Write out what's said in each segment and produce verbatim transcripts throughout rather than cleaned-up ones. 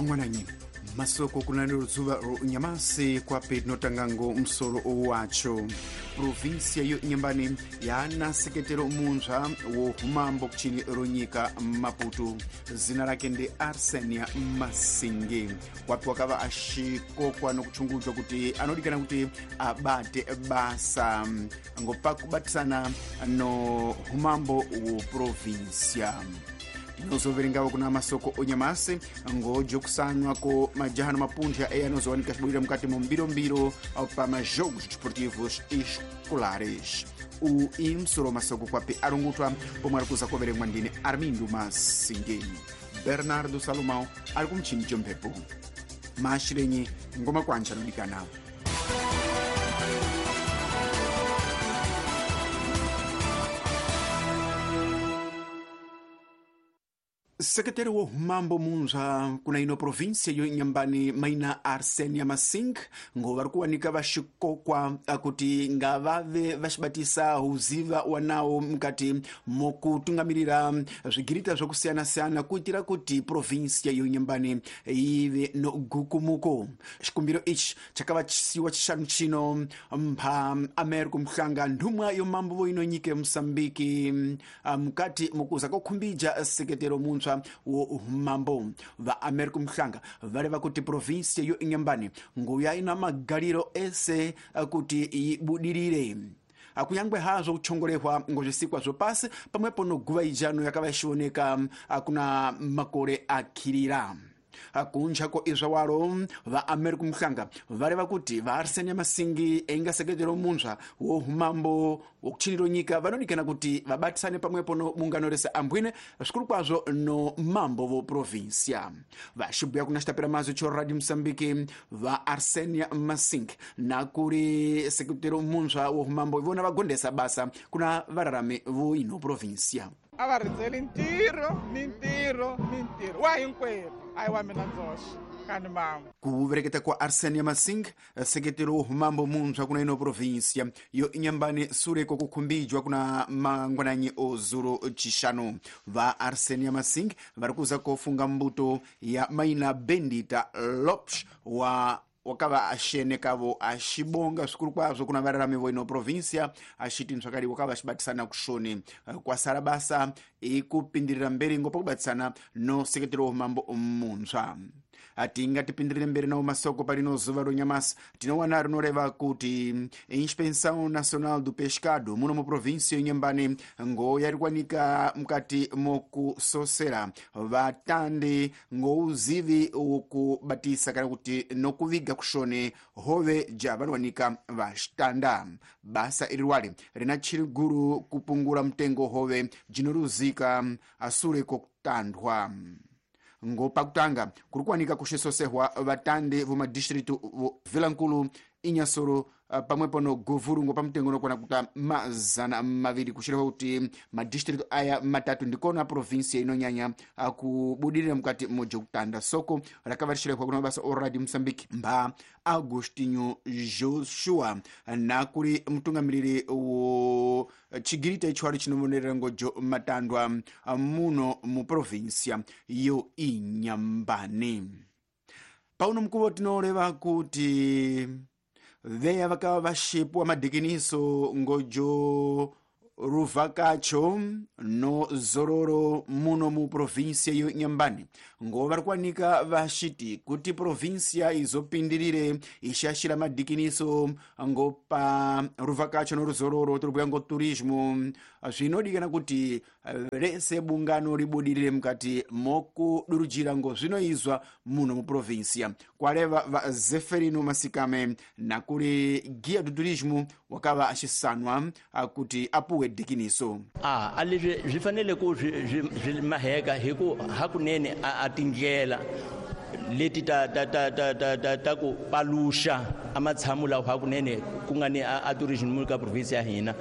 Mangwananyi masoko kunani luzuva nyamasi kwapi tinotangango msoro wacho. Provinsia yo Inhambane yana sekretero munzva wo humambo kuchini ronyika Maputo, zina rake ndi Arsenia Masingi, wapi wakava ashikokwa nokuchungudzwa kuti anodikana kuti abate basa ngopakubatisana no humambo wo provinsia. Tinozoverengavo kuna masoko onyamasi ngojokusanwa ko majahano mapunja e anozowanika xibwira mukati mu mbirombiro pa majogos desportivos escolares. O imsoro masoko kwapi arungutwa pomwe ari kuza kuverengwa ndine Armindo Masingi. Bernardo Salomão ari kumchini chomphepo maashirenyi ngoma kwanja anodikana. Sekretari wo humambo munzva kuna ino provinsia yo Inhambane maina Arsenia Masing ngo vari kuwanika vaxikokwa kuti ngavave vaxibatisa uziva wanawo mukati mokutungamirira zvigirita zvokusiyana-siyana kuitira kuti provinsia yo Inhambane ive no gukumuko. Xikumbiro ichi chakava chisiwa chishanu chino mpha Americo Mhlanga nthumwa yo mambo vo ino nyika ya Mosambiki mukati mukuza kokhumbija sekretero munzva wo mambo. Va Americo Mhlanga vareva kuti provinsia yo Inhambane nguya ina magariro ese kuti ibudirire akunyangwe hazvo kuchongorehwa ngozvisikwa zvopasi pamwepo noguva ijano yakava ichioneka kuna makore akhirira. Kunja ko izvawaro va Americo Mhlanga vareva kuti va Arsenia Masingi enga sekretero munzva wo humambo wokuchiniro nyika vanodikana kuti vabatisane pamwepo no bungano rese ambwine zvikuru kwazvo no mambo vo provinsia. Vaxibhuya kuna xitapera mazwi cho Radio Mosambiki va Arsenia Masingi nakuri sekretero munzva wo humambo ivona vagondesa basa kuna vararami vo ino provinsia. A va rindzeli ntirho ni ntirho ni ntirho wa hinkwerhu a hi wa mina ndzoxe kani mama. Kuvereketa kwa Arsenia Masing sekretero wo humambo munzva kuna ino provinsia yo Inhambane sureko kukhumbijwa kuna mangwananyi ozuro chishanu. Va Arsenia Masing vari kuza kofunga mbuto ya maina Bendita Lopes wa wakava axenekavo axibonga zvikuru kwazvo kuna vararami vo ino provinsia axiti ntsvakadi wakava axibatisana kushoni kwasara basa ikupindirira mberi ngo pakubatisana no sekretero wo mambo munzva. Atingatipindirire mberi nawo masoko parino zuva ronyamasi tinowana rinoreva kuti Inspeção Nacional do Pescado muno mu provinsia Inhambane ngo yarikwanika mukati mokusosera vatandi ngouzivi wokubatisa kana kuti nokuviga kushone hove ja vanowanika vaxitanda. Basa iri rwale rina chiriguru kupungura mutengo hove jinoruzika asure kokutandwa. Ngo pakutanga kuri kuwanika kuxisosehwa vatandi vomadistritu vo Vilankulu, Inhassoro pamwepo no Govuru ngo pamutengo unokwana kuta mazana maviri kuxireva kuti madistritu aya matatu ndikona provinsia inonyanya kubudirira mukati mojokutanda. Soko rakava rixirehwa kuna mabasa o Radio Mosambiki mba Agostinho Joshua nakuri mutungamiriri wo chigirita ichwari chinovonerera ngojo matandwa muno mu provinsia yo Inhambane. Pauno mukuvo tinoreva kuti veya vakava vaxipwa madhikiniso ngojo ruvhakacho no zororo muno mu provinsia yo Inhambane ngo vari kuwanika vaxiti kuti provinsia izopindirire ixaxira madhikiniso ngo pa ruvhakacho no ruzororo tiribhuya ngo turismo zvinodikana kuti rese bungano ribudirire mukati mokudurujira ngo zvinoizwa muno mu provinsia. Kwareva va Zeferino Masikame nakuri guia do turismo wakava axisanwa kuti apuwe dikiniso. Ah, a leswi swi fanele ku swi swi maheka hi ku hakunene a tindlela leti ta ta ta ta ta ta ta ku paluxa a matshamo lawa hakunene ku nga ni a tourism mu ka province ya hina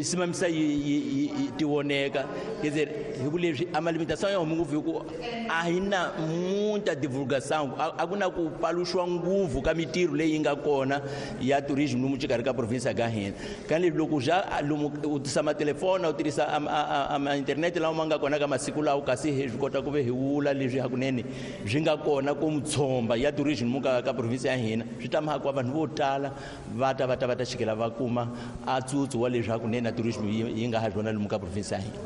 simamisa yi ti voneka quer hi ku leswi a malimitação ya huma ngopfu hi ku a hi na muita divulgação a ku na ku paluxiwa nguvu ka mitirho leyi nga kona ya tourism lomu xikarhi ka province ka hina ka loko ja lomu u tisa matelefona u tirhisa a internet lawa ma nga kona ka masiku lawa kasi hi swi kota ku ve hi wula leswi hakunene swi nga kona ko mutshomba ya tourism muka ka province ya hina swi ta mhaka vanhu vo tala va ta va ta va ta xikela va kuma a tsutsu wa leswaku nene tourism yi nga ha byona lomu ka province ya hina.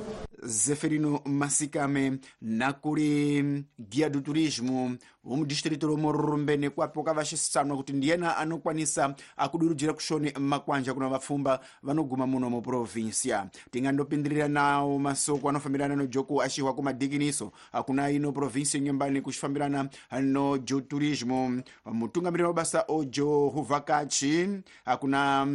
Zeferino Masikame nakuli guia do turismo mu distrito ro Morrumbene kwapo vaxisanwa kuti ndiyena anokwanisa akudurujira kushoni makwanja kuna vapfumba vanoguma muno mu província. Tingandopindirira nawo masoko anofambirana no joku axihwa kumadhikiniso akuna ino província Inhambane kuxifambirana no jo turismo. Mutungamiriri wa basa ojo huvakachi akuna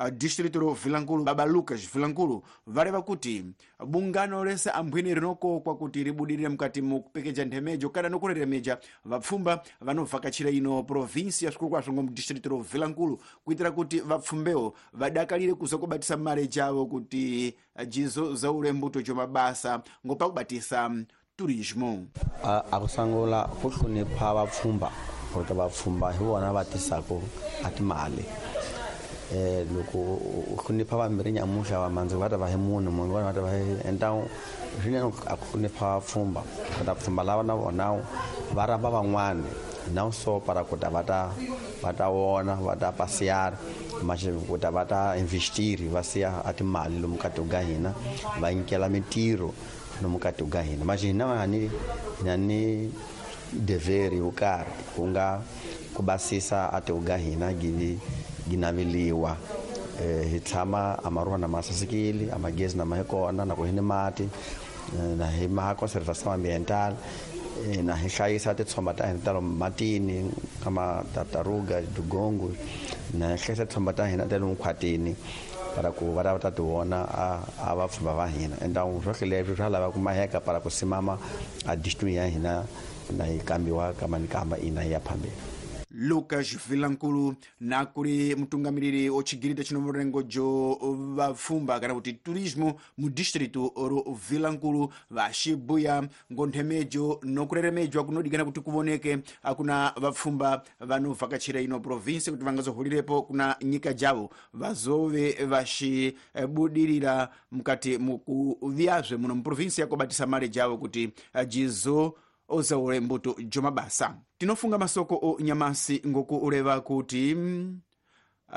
Uh, distrito ro Vilankulu Baba Lucas Vilankulu vareva kuti bungano rese ambwini rinokokwa kuti ribudirire mukati mukupekeja nthemejo kana nokureremeja vapfumba vanovhakachira ino província zvikuru kwazvo ngo mudistrito ro Vilankulu kuitira kuti vapfumbewo vadakarire kuza kubatisa mare javo kuti jizo zaule mbuto jo mabasa ngo pakubatisa turismo. Akusangula kuhlonipha vapfumba kuti vapfumba hi vona va tisaka a timali. Eh loko u hlonipha vambirhi nyamuhla va mandzi va ta va hi munhu munhu vona va ta va hi entawu swinene a ku hlonipha vapfhumba ku ta pfhumba lava na vona va rhamba van'wani na so para ku ta va ta va ta vona va ta pasiyara manje ku ta va ta investiri va siya a timali lomu ka tiko ka hina va nyikela mintirho lomu ka tiko ka hina manje hina hani hina ni deveri yo karhi ku nga ku basisa a tiko ka hina givi ginaveliwa eh hi tshama amaruwa na masasekile amagezi na mahekona na ku hini mati na hi ma conservation ambiental na hi hlayisa titshomba ta hina ta lomu matini kama tartaruga dugongo na hi hlayisa titshomba ta hina ta lomu khwatini para ku va ta ti vona a a vapfhumba va hina enda swohle leswi swa lava ku maheka para ku simama a district ya hina na hi kambiwa kama ni kamba ina ya phambili. Lucas Vilankulu nakuli mutungamiriri ochigirita chino murengo jo vapfumba kana kuti turismo mu distrito ro Vilankulu vaxibuya ngo nthemejo nokureremejwa kunodikana kuti kuvoneke akuna vapfumba vanovhakachira ino province kuti vangazohulirepo kuna nyika javo vazove vaxibudirira mukati mukuvyazve muno mu province yakobatisa mare javo kuti jizo ozaule mbuto jomabasa. Tinofunga masoko o nyamasi ngoku uleva kuti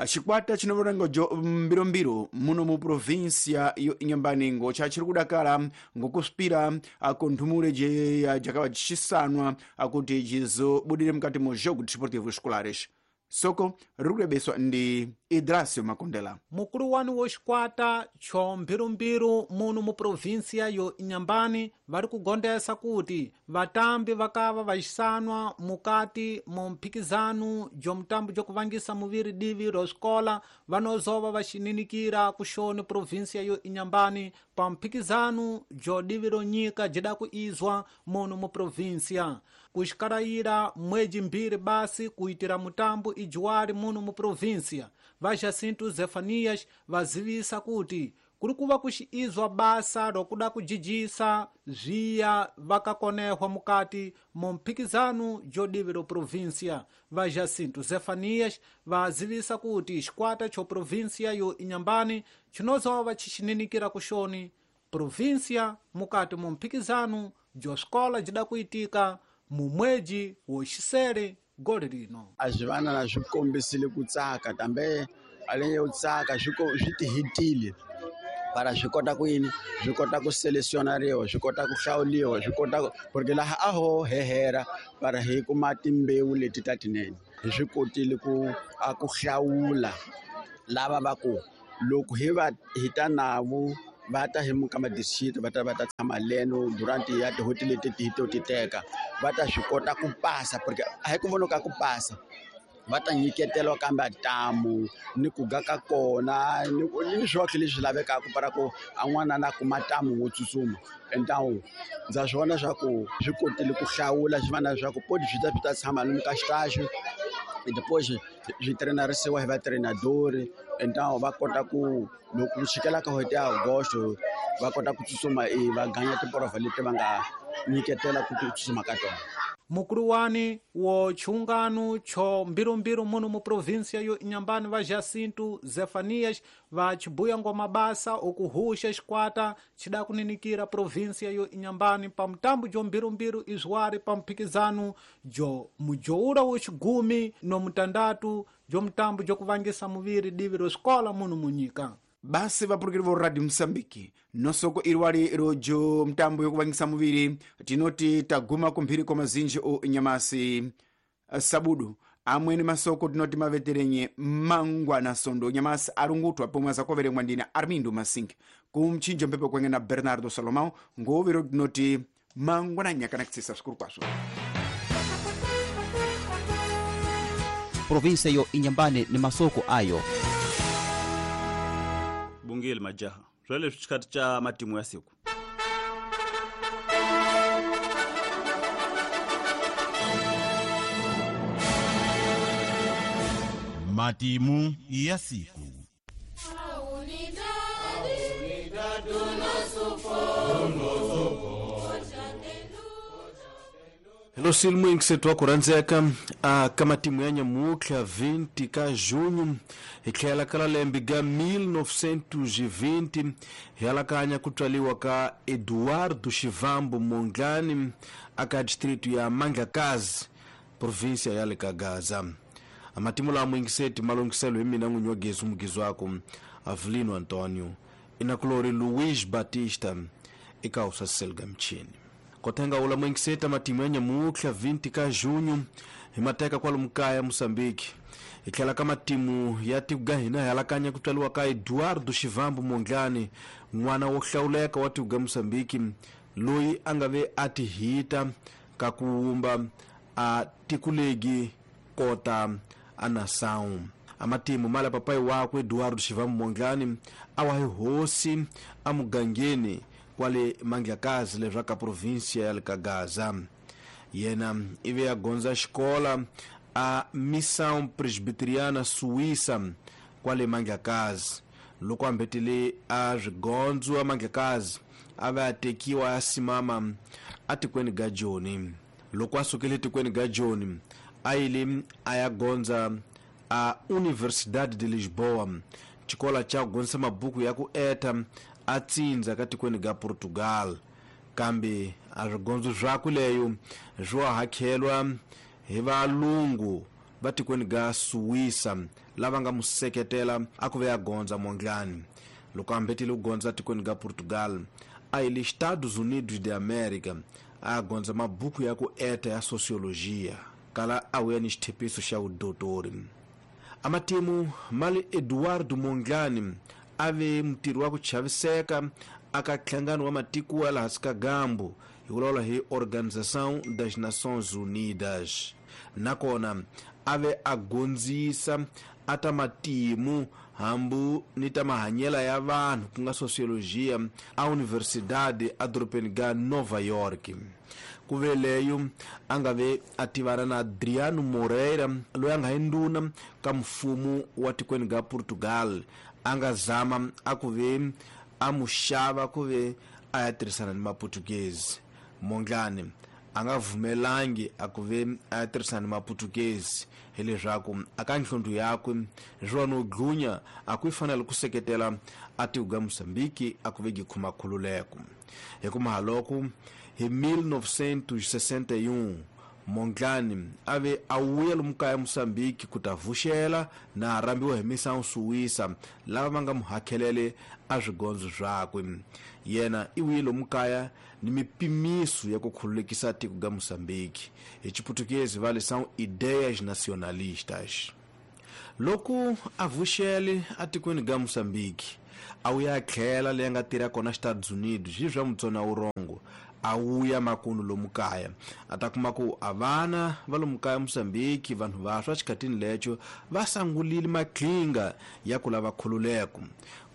xikwata chinovorengo jo mbirombiro muno mu província yo Inhambane ngo chachiri kudakala ngokuspira akonthumule je jakawa jixisanwa akuti jizobudire mukati mu jogo desportivo escolares. Soko rikurebeswa ndi Idrasio Makondela. Mukulu wanu wo xikwata cho mbirumbiru muno mu província yo Inhambane vari kugondesa kuti vatambi vakava vaxisanwa mukati mu mphikizano jo mutambo jokuvangisa muviri divi ro xikola vanozova vaxininikira kuxoni província yo Inhambane pa mphikizano jo divi ro nyika jida ku izwa muno mu província. Kuxikarayira mweji mbiri basi kuitira mutambo ijuwari muno mu província. Va Jacinto Zefanias vazivisa kuti kuri kuva kuxiizwa basa rokuda kujijisa zviya vakakonehwa mukati mu mphikizano jo divi ro província. Va Jacinto Zefanias vazivisa kuti xikwata cho província yo Inhambane chinozova chixininikira kuxoni província mukati mu mphikizano jo xikola jida kuitika mu mweji wo xisere gole lino. A swi vana swi kombisile ku tsaka kambe a yo tsaka swi swi tihitile para swi kota ku yini swi kota ku selesionariwa swi kota ku hlawuliwa swi kota porque laha a ho hehera para hi kuma timbewu leti ta tinene hi swi kotile ku a ku hlawula lava va ku loko hi va hi ta navo va ta hi muka madisiti va ta va ta tshama leno durant ya tihoti leti ti to ti teka va ta swi kota ku pasa porque a hi ku vonoka ku pasa va ta nyiketelwa kambe ntamu ni ku ga ka kona ni ni swohle leswi lavekaka para ku a n'wana na kuma ntamu wo tsutsuma entawu ndza swi vona swa ku swi kotile ku hlawula swi vana swa ku podi swi ta swi ta tshama lomu ka xitaxi depois swi trenarisiwa hi vatrenadori entawu va kota ku loko ku xikela ka n'hweti ya Agosto va kota ku tsutsuma e va ganya tiporovha leti va nga nyiketela ku tsutsuma ka tona. Mukuluwani wo chiungano cho mbirumbiru muno mu província yo Inhambane va Jacinto Zefanias va chibuya ngwa mabasa okuhusha xikwata chida kuninikira província yo Inhambane pa mutambo jo mbirumbiru izwari pa mphikizano jo mujoura wo xigumi no mutandatu jo mutambo jo kuvangisa muviri divi ro xikola muno munyika. Basi vapurukiri vo Radio Mosambiki nosoko iriwali rojo mtambo yokuvangisa muviri tinoti taguma kumphiri kwa mazinji o nyamasi sabudu amweni masoko tinoti maveterenye mangwana sondo nyamasi arungutwa pomwe azakoveremwa ndina Armindo Masinki kumchinjo mpepo kwenge na Bernardo Salomão ngovero tinoti mangwana nyakana kutsisa svikuru kwasvo. Provinsia yo Inhambane ni masoko ayo bungeli majaha swale xikati cha matimu ya siku. Matimu ya siku. Hello silmu ingisetwa kuranzeka a kama timu ya nyamutlha vinte ka junho hi tlhela ka lembe ga mil novecentos e vinte hi alakanya ku tswaliwa ka Eduardo Chivambo Mondlane aka distrito ya Mandlakazi província ya le ka Gaza. Amatimu la mwingiseti malongiselo hi mina n'winyi wa gezi mugizi wako Avelino Antonio inakulori Luiz Batista eka usasiseliga mchini. Kotenga ula mwingiseta matimu ya nyamutlha vinte ka junho hi mateka kwalomu kaya Moçambique. Hi tlhela ka matimu ya tiko ga hina hi alakanya ku tswaliwa ka Eduardo Chivambo Mondlane n'wana wo hlawuleka wa tiko ga Moçambique loyi a nga ve a ti hita ka ku wumba a tikulegi kota a nação. Amatimu mala papai wakwe Eduardo Chivambo Mondlane a wa hi hosi a mugangeni kwale Mandlakazi leswaku província ya le ka Gaza. Yena ive a gondza xikola a Missão Presbiteriana Suíça kwale Mandlakazi. Loko a mbetele a swigondzo a Mandlakazi a va tekiwa a simama a tikweni ga Joni. Loko a sukile tikweni ga Joni a yile a ya gondza a Universidade de Lisboa xikola cha gondza mabuku ya ku eta a tsindza ka tikweni ga Portugal. Kambe a swigondzo swakwe leyo swo hakhelwa hi valungu va tikweni ga Suíça lava nga mu seketela a ku ve ya gondza Mondlane. Loko a mbetile ku gondza tikweni ga Portugal a yile Estados Unidos de América a gondza mabuku ya ku eta ya sociologia kala a wuya ni xithepiso xa vudotori. Amatimu mali Eduardo Mondlane a ve mutirhi wa ku chaviseka aka nhlangano wa matiko ya laha hansi ka gambu hi vulavula hi Organização das Nações Unidas. Nakona a ve a gondzisa a ta matimu hambu ni ta mahanyela ya vanhu ku nga sociologia a Universidade a dorobeni ga Nova York. Ku ve leyo a nga ve a tivana na Adriano Moreira loyi a nga hi ndhuna ka mfumo wa tikweni ga Portugal a nga zama a ku ve a mu xava ku ve a ya tirhisana ni maputukezi. Mondlane a nga vumelangi a ku ve a ya tirhisana ni maputukezi hileswaku aka nhlondu yakwe swo no dlunya a ku fanele ku seketela a tiko ga Moçambique a ku ve gi khuma khululeko. Hi ku mahaloko hi mil novecentos e sessenta e um Mondlane a ve a wuya lomu kaya Moçambique ku ta vuxela na rhambiwa hi Missão Suíça lava va nga mu hakhelele a swigondzo swakwe. Yena i wuye lomu kaya ni mipimiso ya ku khululekisa tiko ga Moçambique. Hi xiputukezi va le são ideias nacionalistas. Loko a vuxele a tikweni ga Moçambique a wuya tlhela leyi nga tirha kona Estados Unidos hi swa mutsona wurongo a wuya makunu lomu kaya a ta kuma ku a vana va lomu kaya Moçambique vanhu vaswa xikhatini lecho va sangulile maqhinga ya ku lava khululeko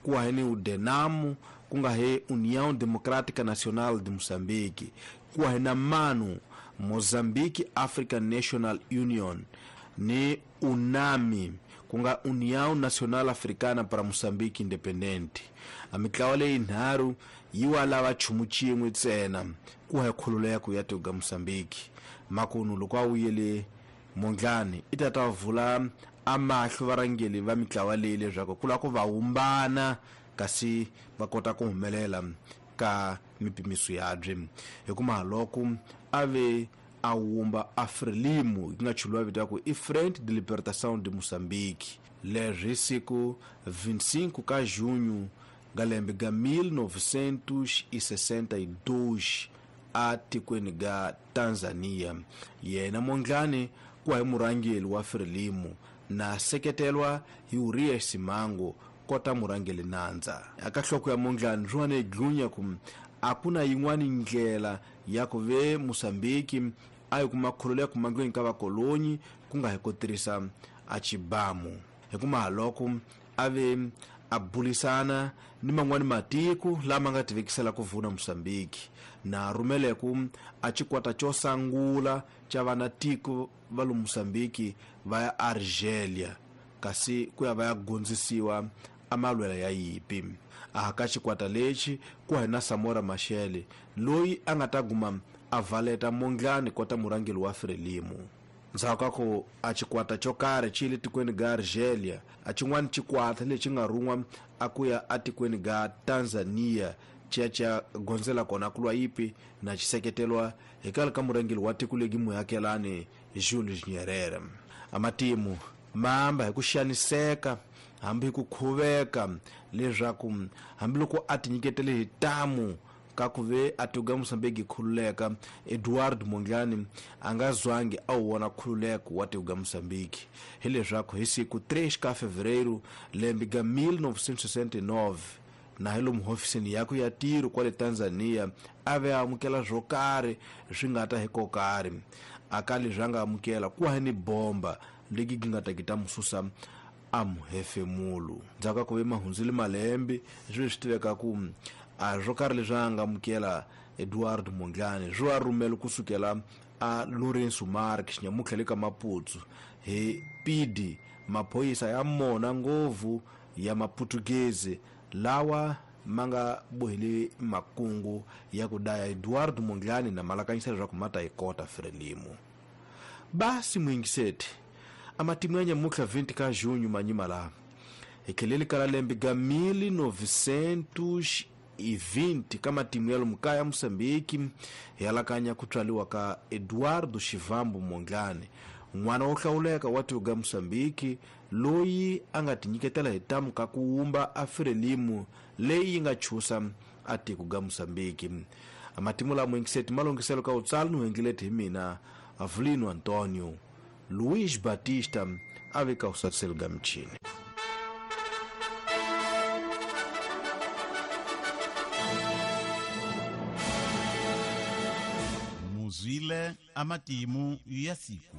ku wa ni udenamu ku nga he União Democrática Nacional de Moçambique ku wa na MANU Mozambique African National Union ni UNAMI ku nga União Nacional Africana para Moçambique Independente. A mitlawa leyi nharhu yi wa lava chumu xin'we ntsena ku ha khululeko ya tiko ga Mozambique. Makunu loko a wuyele Mondlane i ta ta vula amahlo varhangeri va mitlawa leyi leswaku ku lava ku va humbana kasi va kota ku humelela ka mipimiso yabye. Hikuva loko a ve a wumba a Frelimo yi nga chuliwa vito ya ku i Frente de Libertação de Moçambique, leswi siku vinte e cinco ka junho ga lembe ga mil novecentos e sessenta e dois a tikweni ga Tanzania. Yena Mondlane ku hi murhangeri wa Frelimo na seketelwa hi Urias Simango kota murhangeri nandza. Aka nhloko ya Mondlane swi dlunya ku a ku na yin'wana ndlela ya ku ve Mozambique a yi kuma khululeko mahlweni ka vakolonyi ku nga hi ku tirhisa a xibamu. Hikuva loko a ve a bulisana ni man'wani matiko lama nga tivekisela ku vuna Mozambique na rhumeleku a xikwata xo sungula xa vanatiko va lo Mozambique va ya Argelia kasi ku ya va ya gondzisiwa a malwela ya yipi. A ka xikwata lexi ku hi na Samora Machel loyi a nga ta guma a valeta Mondlane kota murhangeri wa Frelimo. Ndzhaku ka ku a xikwata xo karhi xi le tikweni ga Argelia, a xin'wana xikwata lexi nga rhun'wa a ku ya atikweni ga Tanzania xi ya xi ya gondzela kona ku lwa yipi na xiseketelwa hi kale ka murhangeri wa tiko legi muakelani Julius Nyerere. A matimu ma amba hi ku xaniseka hambi hi ku khuveka leswaku hambiloko a tinyiketele hi tamu ka ku ve a tiko ga Mozambique khululeka, Eduardo Mondlane a nga zwangi a wu vona khululeko wa tiko ga Mozambique. Hileswaku hi siku três ka fevereiro lembe ga mil novecentos e sessenta e nove na hi lomu hofisini yakwe ya tiro kwale Tanzania a ve a amukela swo karhi swi nga ta hi ko karhi. A ka leswi a nga amukela ku ha ni bomba legi gi nga ta ki ta mu susa a muhefemulo. Ndzhaku ka ku ve mahundzile malembe swi swi tiveka ku a swo karhi leswi a nga amukela Eduardo Mondlane swi wa rhumela kusukela a Lourenço Marques nyamutlha le ka Maputo hi P D maphorisa ya mona ngopfu ya Maputukezi lawa ma nga bohile makungu ya ku daya Eduardo Mondlane na malakanyisa leswaku ma ta yi kota Frelimo. Basi muyingiseti a matimu ya nyamutlha vinte ka junho manyima laha hi tlheleli ka lembe ga mil novecentos e vinte ka matimu ya lomu kaya Mozambique hi alakanya ku tswariwa ka Eduardo Chivambo Mondlane, n'wana wo hlawuleka wa tiko ga Mozambique loyi a nga tinyiketela hi tamu ka ku wumba a Frelimo leyi yi nga chusa a tiko ga Mozambique. Matimu lama muyingiseti ma longhiselo ka utsalo ni endlileti hi mina Avelino Antonio Luiz Batista a veka usatiselo ga michini. Muzwile amatimu ya siku.